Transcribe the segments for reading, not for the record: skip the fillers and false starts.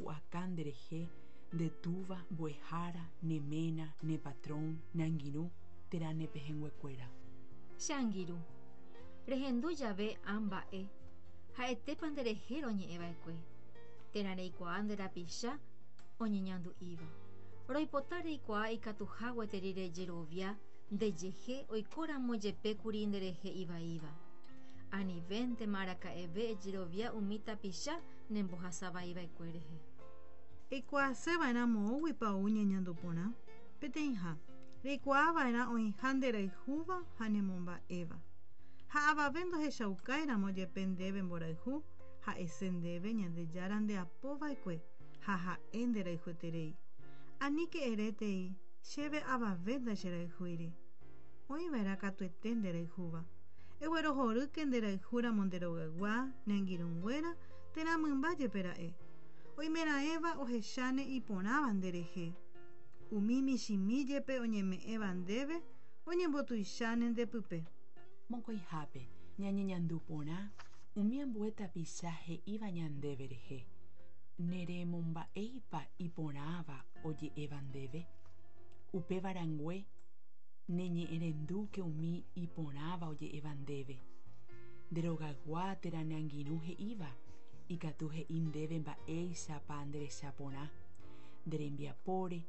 ipu'aka nderehe nde túva, mbo'ehára, ne ména, ne patrón, ne angirũ térã ne pehẽnguekuéra. Che angirũ, rehendu jave ã mba'e, ha'etépa nderehe roñe'ẽva'ekue, térã reikuaa nde rapicha oñeñandu'íva. Roipota reikuaa ikatuha gueteri rejerovia ndejehe oikóramo jepe kuri nderehe ivaíva. Anivéntema araka'eve ejerovia umi tapicha nembohasavaiva'ekue rehe. Eikuaase va'erã moõguipa ou ñeñandu porã? Peteĩha, reikuaa va'erã oĩha nderayhúva ha nemomba'éva. Ha avave ndohechaukáiramo jepe ndéve mborayhu, ha'ese ndéve Ñandejára ndeapo va'ekue ha ha'e nderayhueterei. Aníke erétei, Chéve avave ndacherayhúiri. Oĩ va'erã katuete nderayhúva. Eguerohorýke nderayhúramo nde rogaygua, ne angirũnguéra, térã mymba jepe ra'e. Oimeraẽva ohecháne iporãva nderehe. Umi michĩmi jepe oñeme'ẽva ndéve oñembotuicháne nde pype. Mokõihápe, ñañeñandu porã umi ambue tapicha he'íva ñandéve rehe. Neremomba'éipa iporãva oje'éva ndéve? Upéva rangue, neñe'ẽrendúke umi iporãva oje'éva ndéve. Nde rogaygua térã ne angirũ he'íva, ikatu he'i ndéve mba'éichapa nderecha porã, nde rembiapóre,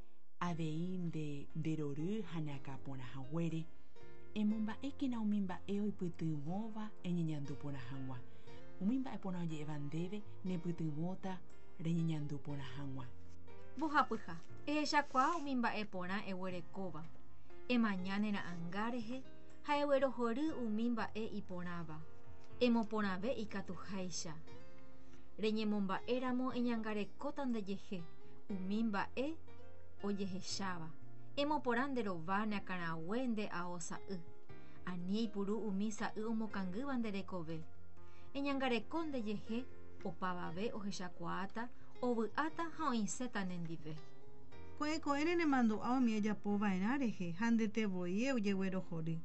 avei nde nderory ha neakã porã haguére. Emomba'ékena umi mba'e oipytyvõva eñeñandu porã hag̃ua. Umi mba'e porã oje'éva ndéve nepytyvõta reñeñandu porã hag̃ua. Mbohapyha, ehechakuaa umi mba'e porã eguerekóva, emaña ne ra'ãnga rehe ha eguerohory umi mba'e iporãva, emoporãve ikatuháicha. Reñemomba'éramo eñangarekóta ndejehe umi mba'e ojehecháva, emoporã nde rova ne akãrague nde ao sa'y. Ani eipuru umi sa'y omokangýva nde rekove. Eñangareko ndejehe opavave ohechakuaáta, ovy'áta ha oĩséta nendive. Ko'ẽ ko'ẽre nemandu'a umi ejapo va'erã rehe ha ndete voi ojeguerohory,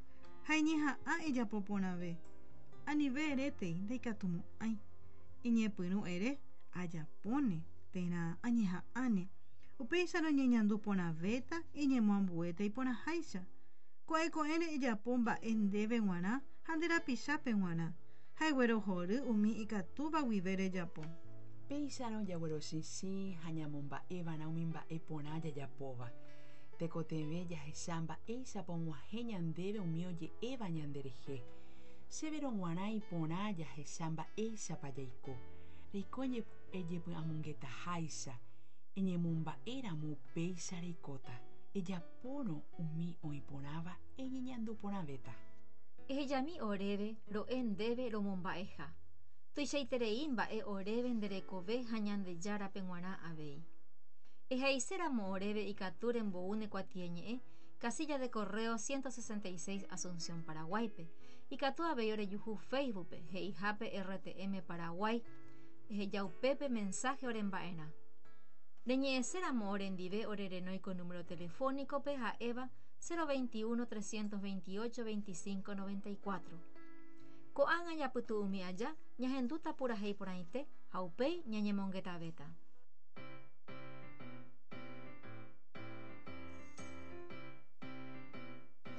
ha eñeha'ã ejapo porãve. Anive erétei, ndaikatumo'ãi. Eñepyrũ ere, Ajapóne, térã añeha'ãne. Upéicharõ eñeñandu porãvéta, eñemoambuéta iporãháicha. Ko'ẽ ko'ẽre ejapo mba'e ndéve g̃uarã ha nde rapichápe g̃uarã, ha eguerohory umi ikatúva guive rejapo. Péicharõ jaguerochichĩ ha ñamomba'eva'erã umi mba'e porã jajapóva. Tekotevẽ jahecha mba'éichapa og̃uahẽ ñandéve umi oje'éva ñanderehe. Chéverõ g̃uarã iporã jahecha mba'éichapa jaiko. Reiko ejepy'amongetaháicha, eñemomba'éramo upéicha reikóta. Ejapórõ umi oĩ porãva eñeñandu porãvéta. Ehejami oréve ro'e ndéve romomba'eha. Tuichaiterei mba'e oréve nde rekove ha Ñandejárape g̃uarã avei. Ehaiséramo oréve ikatu rembou ne kuatiañe'ẽ casilla de correo 166 Asunción Paraguáipe. Ikatu avei orejuhu Facebook-pe, he'ihápe RTM Paraguay. Eheja upépe mensaje oremba'erã. Reñe'ẽséramo orendive orerenói ko número telefónico-pe ha'éva 021 328 25 94. Ko'ág̃a japytu'umi aja ñahendúta purahéi porãite ha upéi ñañemongetavéta.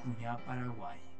Kuña Paraguái.